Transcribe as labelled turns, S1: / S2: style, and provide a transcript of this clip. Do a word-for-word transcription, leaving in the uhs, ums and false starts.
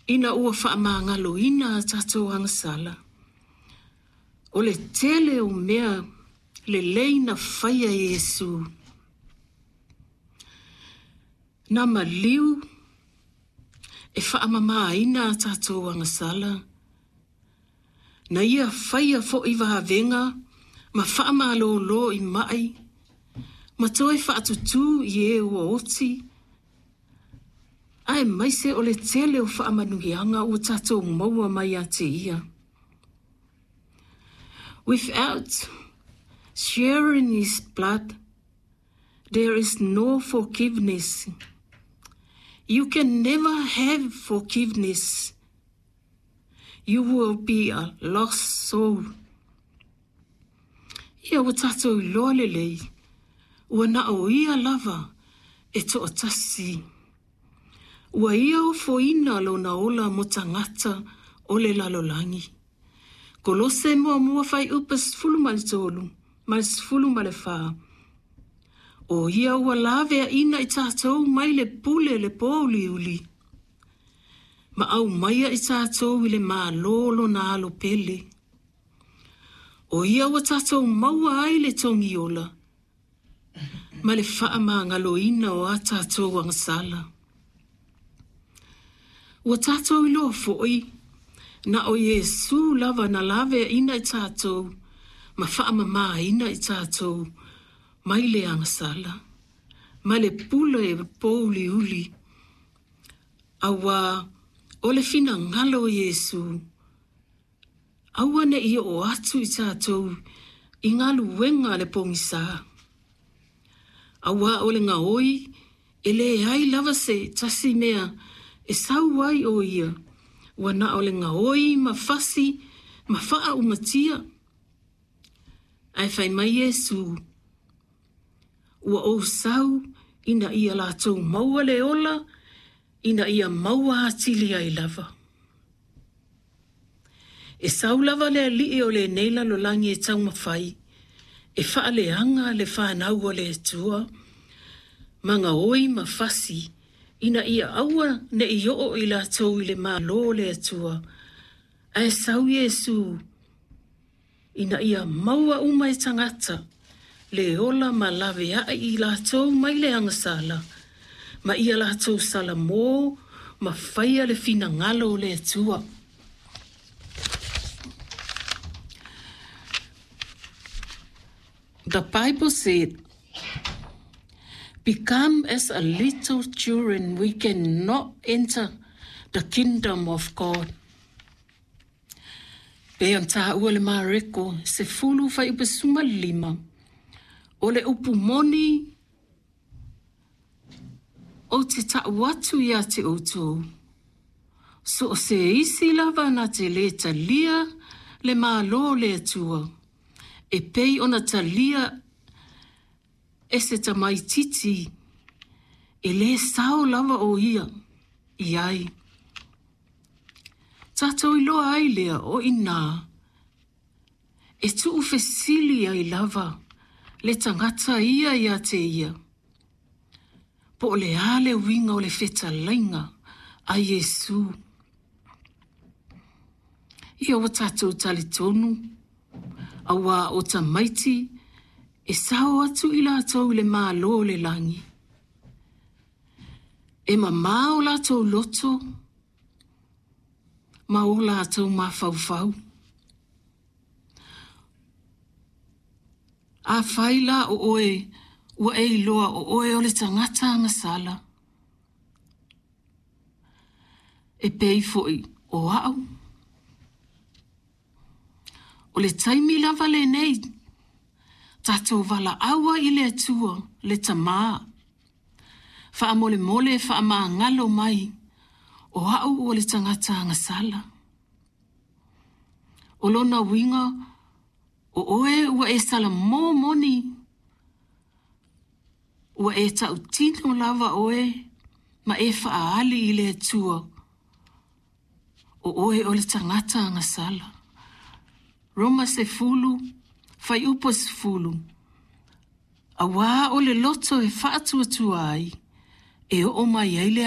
S1: Ina ua faamagaloina a tatou agasala, o le tele o mea lelei na faia e Iesu. Na maliu e faamamaina a tatou agasala, na ia faia fo'i vavega ma faamalōlō i ma'i ma toe faatutū i e ua oti, aemaise o le tele o faamanuiaga ua tatou maua mai ia te ia. Without sharing his blood, there is no forgiveness. You can never have forgiveness. You will be a lost soul. Ia ua tatou iloa lelei, ua na o ia lava e to'atasi. Ua ia ofoina lona ola mo tagata o le lalolagi. Kolose muamua fuaiupu sefulu ma le tolu ma le sefulu ma le fa. O ia ua laveaina i tatou mai le pule le pōuliuli. Ma aumaia i tatou i le Malo lona alo pele. O ia ua tatou maua ai le togiola ma le faamagaloina o a tatou agasala. Ua tatou iloa fo'i, na o Iesu lava na laveaina i tatou ma faamamaina i tatou mai le agasala, ma le pule pōuliuli, auā o le finagalo o Iesu, aua ne'i oo atu i tatou i galuega a le pogisā. Auā o le gaoi e leai lava se tasi mea e sau ai o ia, ua na o le gaoi ma fasi ma faaumatia. Ae fai mai Iesu, ua ou sau ina ia latou maua le ola, ina ia maua atili ai lava. E sau lava le alii o lenei lalolagi e taumafai, e faaleaga le fanau a le Atua, ma gaoi ma fasi, ina ia aua ne'i oo i latou i le Malo o le Atua, ae sau Iesu ina ia maua uma e tagata le ola ma laveai i latou mai le agasala, ma ia latou salamō ma faia le finagalo o le Atua. The Bible said, Become as a little children, we cannot enter the kingdom of God. Pei ona taua le Mareko sefulu fuaiupu sefulumalima, o le upu moni ou te ta'u atu ia te outou. So o se isi lava na te lē talia le Malo o le Atua, e pei ona talia e se tamaititi, e lē sao lava o ia i ai. Tatou iloa ai lea o inā, e tuufesili ai lava le tagata ia ia te ia. Po o le a le uiga o le fetalaiga a Iesu. Ia ua tatou talitonu, auā o tamaiti e sao atu i latou i le Malo o le lagi. E mamā o latou loto ma o latou mafaufau. Afai la o oe ua e iloa o oe o le tagata agasala, e pei foi o a'u, o le taimi lava lenei tatou valaau ai i le Atua le Tamā, faamolemole faamagalo mai o a'u ua le tagata agasala. O lona uiga, o oe ua e salamō moni, ua e tautino lava oe ma e faaali i le Atua, o oe o le tagata agasala. Roma sefulu, fuaiupu sefulu, auā o le loto e faatuatua ai, e oo mai ai le